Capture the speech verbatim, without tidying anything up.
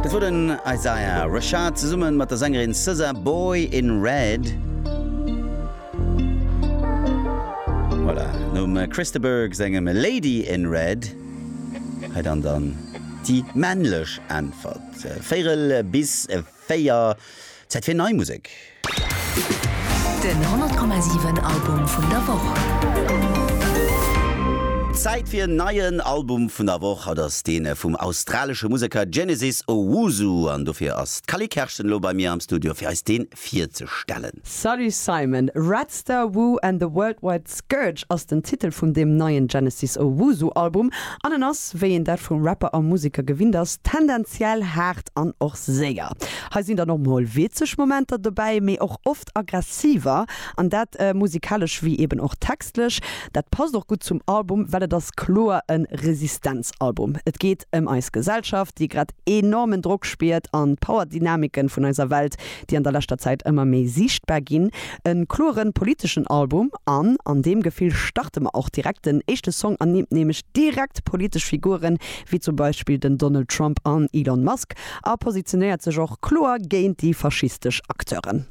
Dat wor den Isaiah Rashad zesumme mat der Sängerin SZA, Boy in Red. Voilà, nom Chris de Burgh sengem Lady in Red hei dann dann déi männlech Äntwert. Véierel bis véier, Zäit fir nei Musek. Den honnert Komma siwen Album vun der Woch. Zäit fir en neien Album vun der Woch. Haut ass dee vum australesche Museker Genesis Owusu an dofir ass d'Cally Kerschen elo bei mir am Studio fir eis dee virzestellen. Salut Simon! Red Star Wu and the Worldwide Scourge ass den Titel vun deem neien Genesis Owusu Album an en ass, wéi een dat vum Rapper a Museker gewinnt ass, tendenziell haart an och séier. Hei sinn dann och mol witzeg Momenter dobäi, mee och oft aggressiver, an dat musikalesch wéi eben och textlech. Dat passt och gutt zum Album, well et ass kloer e Resistenzalbum. Et geet ëm eis Gesellschaft, déi grad enormen Drock spiert, an d'Power-Dynamiken vun eiser Welt, déi an der leschter Zäit ëmmer méi siichtbar ginn. E kloren politeschen Album an an deem Gefill starte mer och direkt. Den éischte Song ernimmt nämlech direkt politesch Figuren, wéi zum Beispill den Donald Trump an Elon Musk, a positionéiert sech och kloer géint déi faschistesch Acteuren.